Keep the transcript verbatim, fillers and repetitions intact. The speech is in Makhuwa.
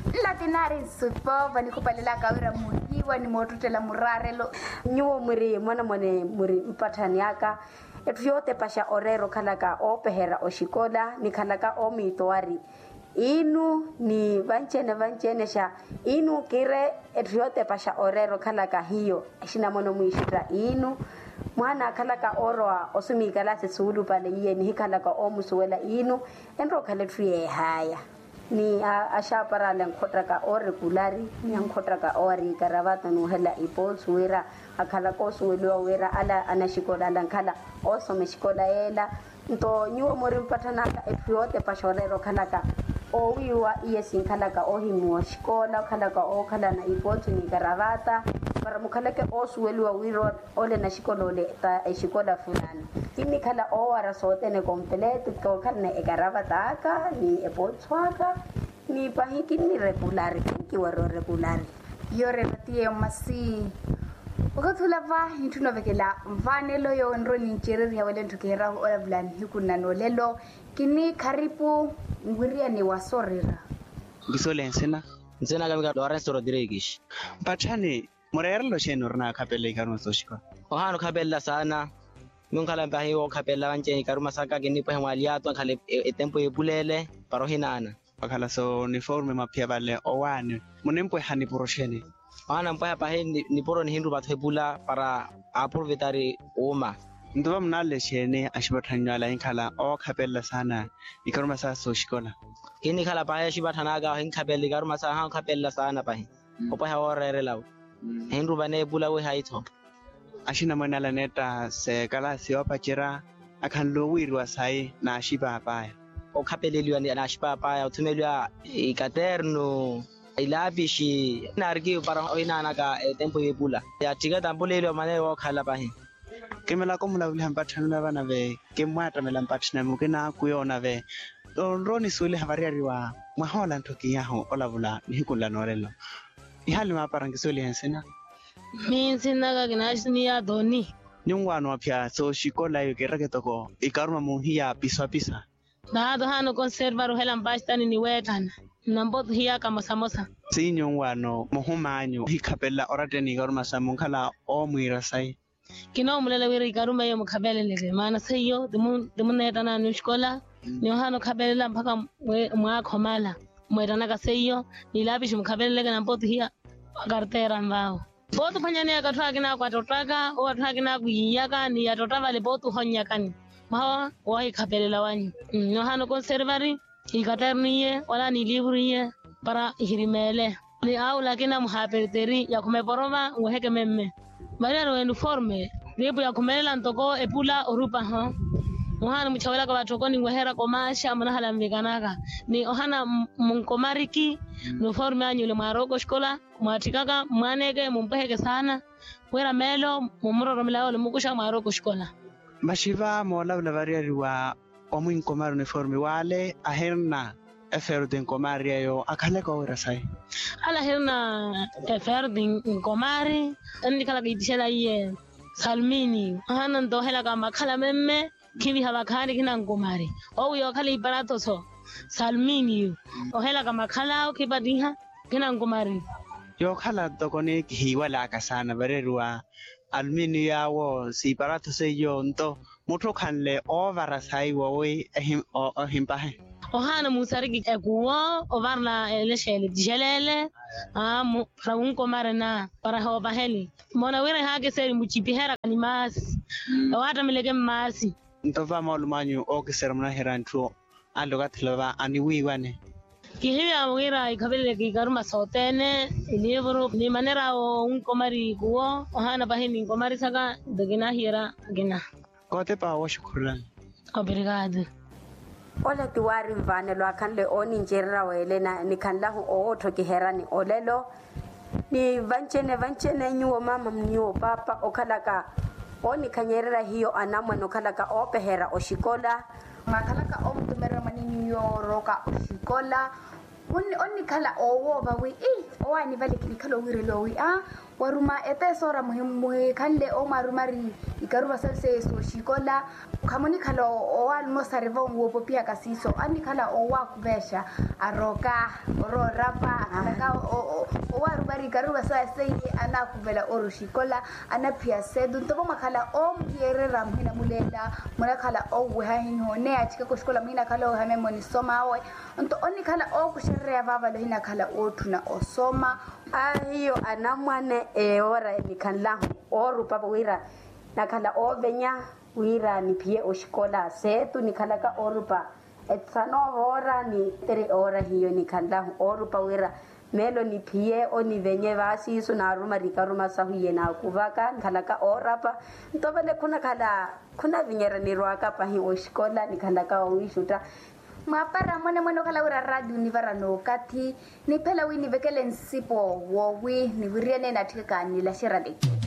Nlatinaari nsupo vanikhupalelaka wira muhiwa ni moottuttela muraarelo. Nyuwo mwiri mwanamwane mwiri mpatthani aka. Etthu yootepaxa oreera okhalaka oopeherya oxikola nikhalaka oomiitowari iinu ni vanci-ene vanci-ene xa iinu kiire. Etthu yootepaxa oreera okhalaka hiyo exinamono mwiixutta iinu mwaana akhalaka oorowa osumiikalaasi suulupale iye nihikhalaka oomusuwela iinu enrowa okhala etthu yeehaya. Ni axaapara ala ankhottaka oorekulari ni ankhottaka oowariikaravata n'uhela ipootsu wira akhalaka oosuweliwa wira ala anaxikola ala ankhala oosoma exikola yeela. Nto nyuwo muri mpatthanaka etthu yootepaxa oreera okhalaka oowiiwa iye sinkhalaka oohimmiwa oxikola okhalaka ookhalana ipootsu n'ikaravata para mukhaleke oosuweliwa wira ole naxikola ole ta exikola fulani. Kinnikhala oowara sothene kompeleto kookhalana ekaravata aka ni epootsu aka ni pahi kinnirekulari kinkiwara orekulari. Yooreratiye masi. Okathi olava nitthuna ovekela nvaanelo yoowo enrowa nincereriha wele ntthukiherahu olavula nihiku nna noolelo. Kinnikharipu nwiriyani wa soorera. Nkisuwele nsina. Nsina kamika lorenso rodrigues. Mpatthani mureerelo xeeni orina akhapelela ikaruma sooxikola? Ohaana okhapelela saana. Nunkhala mpahi wookhapelela vanci ikaruma saka kinnipwehe mwaali yaato ankhala etempu eepuleele para ohinaana. Wakhala so uniforme maphiya vale owaani munimpweha nipuro xeeni? Ohaana mpweha pahi nipuro nihinrupa-tho epula para aaprovetari wuuma. Nto vamunale xeeni axipatthani nyuwala hinkhala ookhapelela saana ikaruma saa sooxikola? Kinnikhala pahi axipatthani aka ohinkhapelela ikaruma saa ohaana okhapelela saana pahi. Opweha wooreerela-wo. Hinrupa neepula wi hayi-tho. Axinamweene ala neetta seekalaasi yoopacerya akhanle owiiriwa sayi n'axipaap'aya. Okhapeleliwa n'axipaap'aya othumeliwa ikaternu ilaapixi naarikiwe para ohinaanaka etempu y'epula. Yatthika tampuleliwa maneeyo wookhalela pahi. Kimelaka omulavuliha mpatthani ola vana ve kimmwaattamela mpatthani mukina kuyoona ve. Nrowa onisuweliha variyari wa mwahoola ntthu kiyahu olavula nihiku nla noolelo. Ihaali maapara nkisuwelihe nsina. Minsina aka kinaxiniya toni. Nyuwo waano aphiya sooxikola eyo kiiraka etoko ikaruma muhiya pisapisa. Naato haana okonservari ohela mpastani ni weettana. Nnampotu hiya kamosamosa. Siinyuwo waano muhum'anyu ohikhapelela oratteni ikaruma sa munkhala oomwiira sayi. Kinoomulela wira ikaruma eyo mukhapeleleke maana seiyo timuneettanani oxikola. Ni ohaana okhapelela mpakha mwaakha omala mweettanaka seiyo. Ni laapixi mukhapeleleke nampotu hiya akarteera nvaawo. Pootu ophwanyaneyaka atthu akina akwattottaka owo atthu akina akwiiyaka ni yattotta vale pootu ohonnyakani. Mwaha woohikhapelela wanyu. Nohaana okonservari ikaternu iye wala ni liivuru iye para ihirimeele. Ni aula akina muhaaperteri yakhumeporova nweheke memme. Variyari wa uniforme riipu yakhumelela ntoko epula orupaho. Muhaana muchawelaka vatthoko ninweheraka omaaxa munahala nvikanaka. Ni ohaana munkomariki. Uniforme anyu ole mwaarowaka oxikola mwaatthikaka mmwaaneke mumpweheke saana wira meelo mummuroromela yoole mukuxa mwaarowaka oxikola. Maxi va moolavula variyari wa omwinkomari uniforme wale ahirina eferti nkomari eyo akhaleke owira sayi. Ala ahirina eferti nkomari ennikhalaka itixela iye salmini. Ahana nto ohelaka makhala memme khiviha vakhaani khina nkomari. Owi yookhala iparathoso salmini ohelaka makhala awo khipattiha khina nkomari. Yookhala ntoko ni kihiiwalaka saana variyari wa aluminiyo yaawo siiparatho seiyo nto mutthu okhanle oovara sayi wowi ohimpahe. Ohaana muusariki ekuwo ovarela elexeele tixeleele. Para wunkomarena para hoopaheli moona wira ehaakiseri mucipiheraka ni maasi ewaattameleke mmaasi. Nto va moolumo anyu ookisera munaherya ntthu ale okathi lova aniwiiwane. Kihiviya wira ikhapeleleke ikaruma sothene iliivuru ni manera awo onkomari kuwo ohaana pahi ninkomarisaka nto kinahiyerya akina. Kootepa wooxukhurulani. Obrigado. Ola ti waari nvaanelo akhanle oonincererya weele na nikhanlahu owoottokiheryani olelo. Ni vancene vancene nyuwo maama nyuwo paapa okhalaka oonikhanyererya hiyo anamwane okhalaka oopeherya oxikola. Mwaakhalaka oomutumererya mwanenyu yooroka oxikola. Onnikhala oowoova wi ii owaani vale kinikhala owiireliwa wi aa Waruma etesoora muhikhanle omwarumari ikaruva salu seiye sooxikola. Khamunikhala owalumosa riva onwopopihaka siiso annikhala owaakuvexa, aroka, oroorapa akhalaka. Owaruvari ikaruva seiye anaakuvela oroxikola, anaphiya setu nto vamwakhala omuyerera muhina mulela. Munakhala oweha hiho neya achikaka oxikola muhinakhala oweha memo nisoma awe. Nto onnikhala ookuxerereya vavale ohinakhala ootthuna osoma. Ahiyo anamwane eora nikhanlahu oorupa wira nakhala oovenya wira niphiye oxikola seetu nikhalaka oorupa etsano voora ni teri oora hiyo nikhanlahu oorupa wira melo niphiye onivenye vaasiisu naaruma rikaruma sahu iye naakuvaka nikhalaka oorapa. Nto vale khunakhala khunavinyerya nirwaka pahi oxikola nikhalaka owiixutta. Mwaapara mwenemwene okhala wira raatiyo nivara nookathi niphela wi nivekele nsipo woowi niwiriyane naatthikaka nilaxerya lekeni.